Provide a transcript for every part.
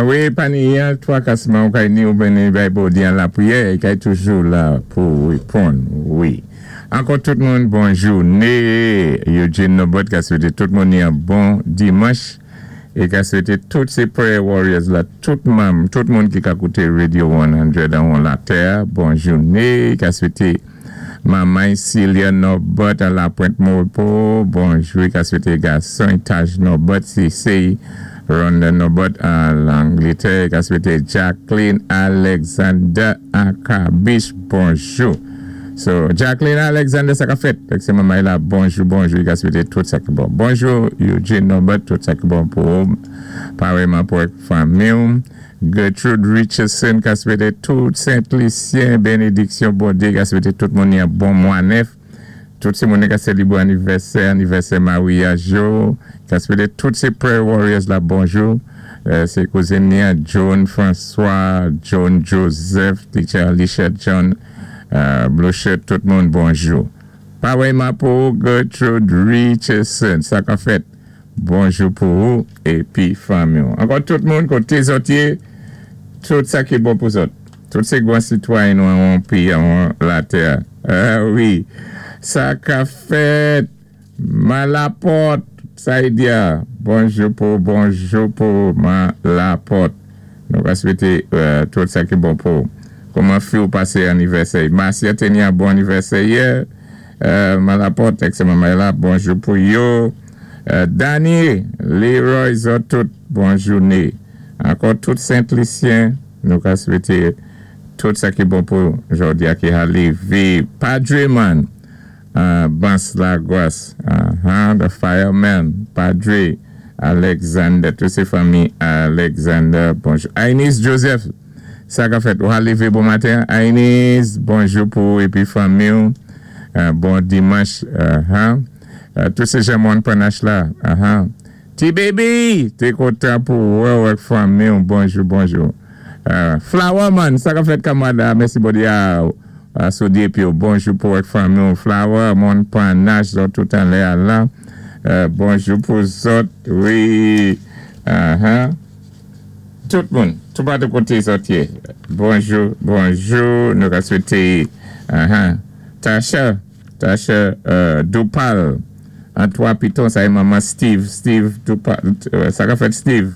Wi, pani an twakasman ou kay ni ou vini bay Bondyé an lapriyè, i kay toujou la pou wéponn wi. Ankò tout moun bon jouné, Eugene Norbert ka swété tout moun yon bon dimanch é ka swété tout sé prayer warriors la tout manm tout moun ki ka kouté radio 100 anwon latè a bon jouné, ka swété Manman Cilia Norbert a Lapwent Moripo, bonjou, i ka swété gason Taj Norbert, Sisey Ronda Norbert a Langlétè, i ka swété Jacqueline Alexander a Kabich, bonjou. So, Jacqueline Alexander, sa ka fèt? Fèk sé manman la, bonjou, bonjou, i ka swété tout sa ki bon. Bonjou, Eugene Norbert, tout sa ki bon pou ou, paréyman pou fanmi ou. Gertrude Richardson ka swété tout Sent Lisyen bénédiksyon Bondyé, ka swété tout moun yon bon mwa nèf. Tout sé moun ka sélébré anivèsè, anivèsè maryaj yo, ka swété tout sé prayer warriors la bonjou. Sé kouzin ni an John François, John Joseph, Teacher Alicia John, Blue Shirt, tout moun bonjou. Paréyman pou Gertrude Richardson, sa ka fèt? Bonjou pou ou épi fanmi ou. Ankò tout moun koté zòt yé, tout sa ki bon pou zòt. Tout sé gwan sitwayen nou anwon péyi anwon latè. Ah wi, sa ka fèt! Malapòt, Saïdia, bonjou pou ou, bonjou pou ou Malapòt. Nou ka swété tout sa ki bon pou ou. Kouman fi ou pasé anivèsè? Marcia té ni yon bon anivèsè yè. Malapòt, ak sé manman la, bonjou pou yo. Dany, Leroy, zòt tout, bon jouné. Ankò tout Sent Lisyen, nou ka swété tout sa ki bon pou jòdi a ki ha lévé. Padre man, Bans Lagwas, the fireman, Padre Alexander, tout sé fanmi Alexander, bonjou. Ainis Joseph, sa ka fèt? Ou ha lévé bon maten? Ainis, bonjou pou ou épi fanmi ou. Bon dimanch. Tout sé jan moun Panache la. Ti baby, té kontan pou wè ou ak fanmi ou. Bonjou, bonjou. Flower man, sa ka fèt kanmarad? Mèsi Bondyé a sou épi ou. Bonjou pou ak fanmi ou. Flower, moun Panache, zòt tout anlè a la. Bonjou pou zòt, wi. Tout moun, tout patou koté zòt yé. Bonjou, bonjou. Nou ka swété Tasha, Tasha Dupal, an 3 Piton, sa é manman Steve, Steve Dupal, sa ka fèt Steve?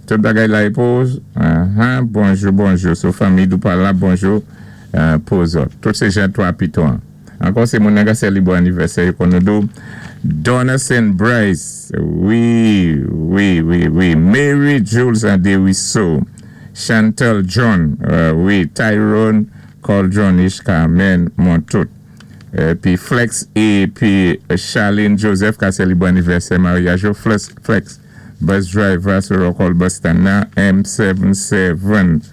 Tout bagay la é pou bonjou, bonjou. Sou fanmi Dupal la, bonjou pou zòt. Tout sé jan 3 Piton. Ankò sé moun nan ka sélébré anivèsè yo kon nou di Donaldson Bryce, wi. Mary Jules Anderiso, Chantal John, wi, Tyrone Coldron, Ishka, Carmen Montout. Pi Flex épi Charlene Joseph ka sélébré anivèsè maryaj yo. Flex, Flex, bus driver sou Rockall Bus Stand nan, M77.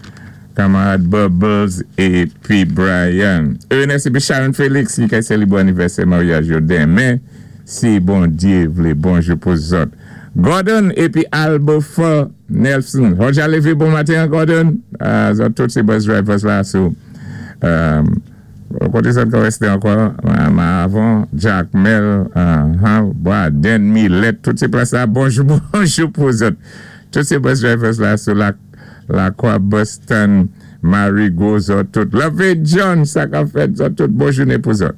Kanmarad Bubbles épi Brian. Ernest épi Sharon Félix ki ka sélébré anivèsè maryaj yo denmen, si Bondyé vlé. Bonjou pou zòt. Gordon épi Albofa Nelson. Roger lévé bon maten, Gordon. Zòt tout sé bus drivers la sou koté zòt ka résté ankò avan Jack Mel, Braden, Millet, tout sé plas la. Bonjou, bonjou pou zòt. Tout sé bus drivers la sou la Lakwa Boston, Marigot, zòt tout. Love John, sa ka fèt zòt tout. Bon jouné pou zòt.